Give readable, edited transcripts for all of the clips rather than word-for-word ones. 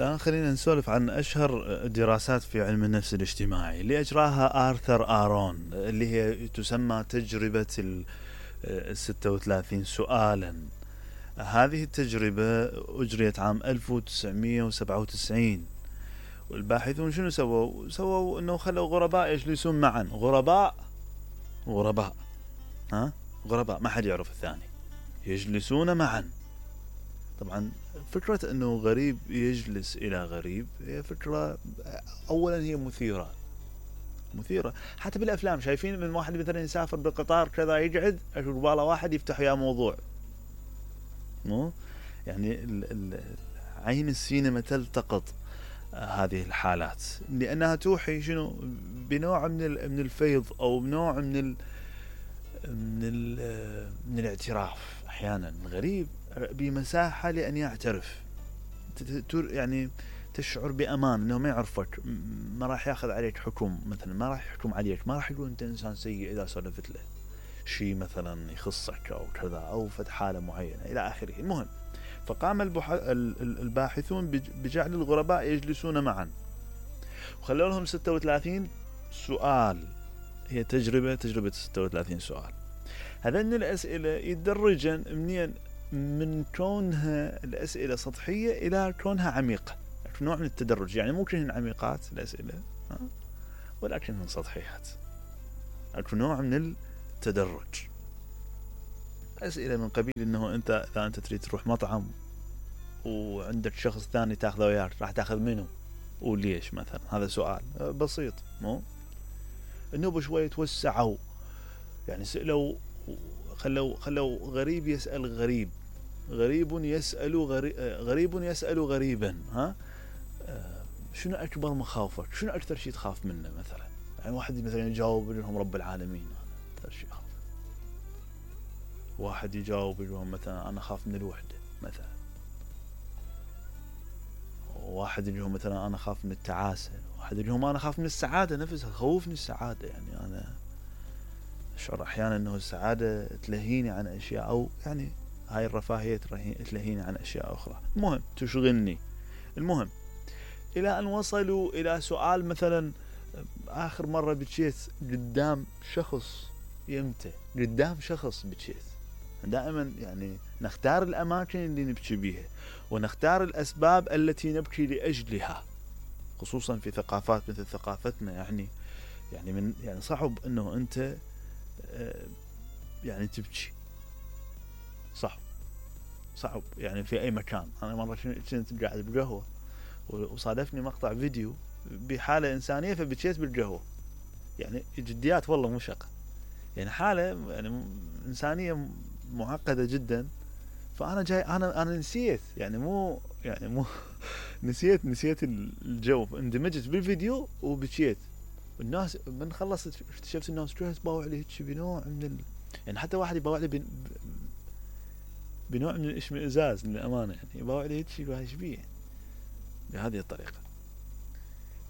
الآن خلينا نسولف عن أشهر دراسات في علم النفس الاجتماعي اللي أجراها آرثر آرون، اللي هي تسمى تجربة 36 سؤالا. هذه التجربة أجريت عام 1997، والباحثون شنو سووا انه خلوا غرباء يجلسون معا، غرباء ما حد يعرف الثاني، يجلسون معا. طبعا فكرة انه غريب يجلس الى غريب هي فكرة اولا هي مثيرة حتى بالافلام. شايفين من واحد مثلا يسافر بالقطار كذا يقعد قباله واحد يفتح يا موضوع، مو يعني عين السينما تلتقط هذه الحالات لأنها توحي شنو بنوع من الفيض أو بنوع من الاعتراف. أحيانا غريب بمساحة لأن يعترف، يعني تشعر بأمان أنه ما يعرفك، ما راح ياخذ عليك حكم، مثلا ما راح يحكم عليك، ما راح يقول أنت إنسان سيء إذا سولفت له شيء مثلا يخصك أو كذا أو فد حالة معينة إلى آخره. المهم، فقام الباحثون بجعل الغرباء يجلسون معا وخلوا لهم 36 سؤال. هي تجربة 36 سؤال. هذين الأسئلة يتدرجن منين؟ من كونها الأسئلة سطحية إلى كونها عميقة، نوع من التدرج. يعني مو كلهن عميقات الأسئلة ولكنهن سطحيات، أكو نوع من التدرج. أسئلة من قبيل إنه أنت إذا أنت تريد تروح مطعم وعندك شخص ثاني تاخذه وياك، راح تاخذ منه وليش مثلا؟ هذا سؤال بسيط. مو النوب شوية توسعوا، يعني سألوا خلوا غريب يسأل غريب، غريب يسأل غريبا. شنو أكبر مخاوفك؟ شنو أكثر شيء تخاف منه مثلا؟ يعني واحد مثلا يجاوب لهم رب العالمين، أكثر شيء أخاف. واحد يجاوب لهم مثلا أنا أخاف من الوحدة مثلا. واحد لهم مثلا أنا أخاف من التعاسة. واحد لهم أنا أخاف من السعادة نفسها، خوفني السعادة. يعني أنا أشعر أحيانا أنه السعادة تلهيني عن أشياء، أو يعني هاي الرفاهية تلهيني عن أشياء أخرى. المهم تشغلني. المهم إلى أن وصلوا إلى سؤال مثلا آخر مرة بكيت قدام شخص، يمتى قدام شخص بكيت. دائما يعني نختار الأماكن اللي نبكي بيها ونختار الأسباب التي نبكي لأجلها، خصوصا في ثقافات مثل ثقافتنا. يعني صعب أنه أنت يعني تبكي، صعب يعني في أي مكان. أنا مرة كنت قاعد بقهوة وصادفني مقطع فيديو بحالة إنسانية فبكيت بالقهوة. يعني جديات والله مو شقة، يعني حالة يعني إنسانية معقدة جدا. فأنا جاي أنا نسيت، يعني مو نسيت الجو، اندمجت بالفيديو وبكيت. الناس من خلصت اكتشفت الناس كلها تباوع لي هيك بنوع من يعني حتى واحد يباوع لي بنوع من الاشمئزاز للأمانة، يعني يباوع لي هيك ايش بيه بهذه الطريقة.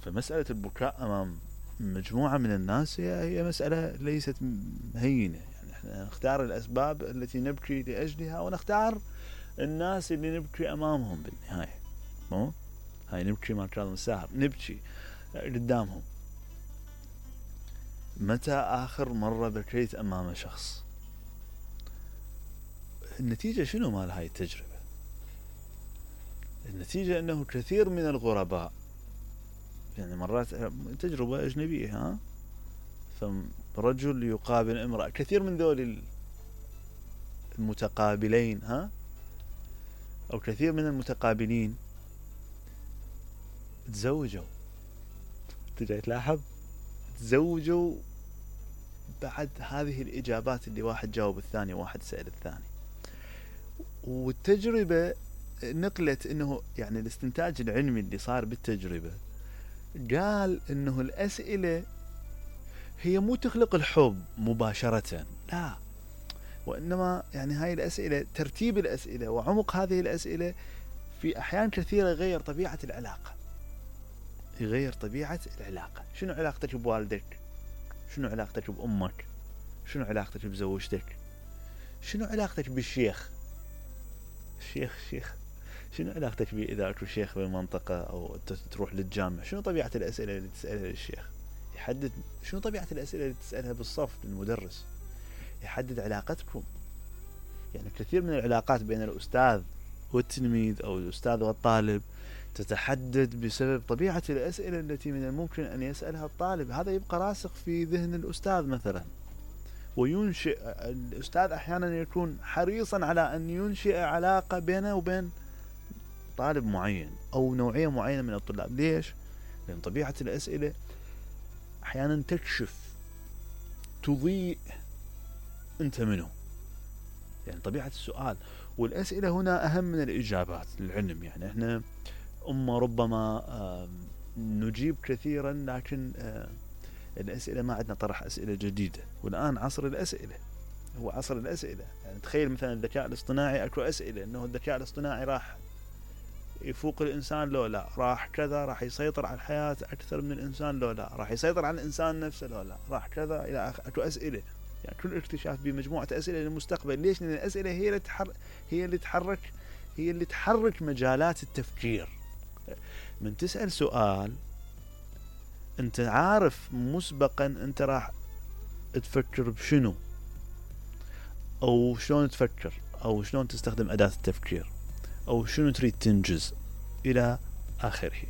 فمسألة البكاء أمام مجموعة من الناس هي مسألة ليست هينة. يعني احنا نختار الأسباب التي نبكي لأجلها ونختار الناس اللي نبكي أمامهم بالنهاية. مو هاي نبكي ما كان مساهر، نبكي قدامهم. متى آخر مرة بكيت أمام شخص؟ النتيجة شنو مال هاي التجربة؟ النتيجة أنه كثير من الغرباء، يعني مرات تجربة أجنبية، فرجل يقابل امرأة، كثير من ذول المتقابلين أو كثير من المتقابلين تزوجوا. تجي تلاحظ تزوجوا بعد هذه الإجابات اللي واحد جاوب الثاني وواحد سأل الثاني. والتجربة نقلت انه يعني الاستنتاج العلمي اللي صار بالتجربة قال انه الأسئلة هي مو تخلق الحب مباشرة، لا، وإنما يعني هاي الأسئلة، ترتيب الأسئلة وعمق هذه الأسئلة في أحيان كثيرة يغير طبيعة العلاقة. شنو علاقتك بوالدك؟ شنو علاقتك بأمك؟ شنو علاقتك بزوجتك؟ شنو علاقتك بالشيخ؟ شنو علاقتك بيه اذا اكو شيخ بالمنطقة او تروح للجامع؟ شنو طبيعة الاسئلة اللي تسألها للشيخ؟ يحدد شنو طبيعة الاسئلة اللي تسألها بالصف للمدرس، يحدد علاقتكم. يعني كثير من العلاقات بين الاستاذ والتلميذ او الاستاذ والطالب تتحدد بسبب طبيعة الاسئلة التي من الممكن ان يسألها الطالب. هذا يبقى راسخ في ذهن الاستاذ مثلا، وينشئ الاستاذ احيانا يكون حريصا على ان ينشئ علاقة بينه وبين طالب معين او نوعية معينة من الطلاب. ليش؟ لان طبيعة الاسئلة احيانا تكشف، تضيء انت منه. يعني طبيعة السؤال والاسئلة هنا اهم من الاجابات للعلم. يعني احنا ربما نجيب كثيرا، لكن الاسئلة ما عندنا طرح اسئلة جديدة. والان عصر الاسئلة هو عصر الاسئلة. يعني تخيل مثلا الذكاء الاصطناعي، اكو اسئلة انه الذكاء الاصطناعي راح يفوق الانسان لو لا، راح كذا، راح يسيطر على الحياة اكثر من الانسان لو لا، راح يسيطر على الانسان نفسه لو لا، راح كذا الى اخره. اكو اسئلة. يعني كل اكتشاف بمجموعة اسئلة للمستقبل. ليش؟ لان الاسئلة هي اللي تحرك مجالات التفكير. من تسأل سؤال انت عارف مسبقا انت راح تفكر بشنو، او شلون تفكر، او شلون تستخدم اداة التفكير، او شنو تريد تنجز الى اخره.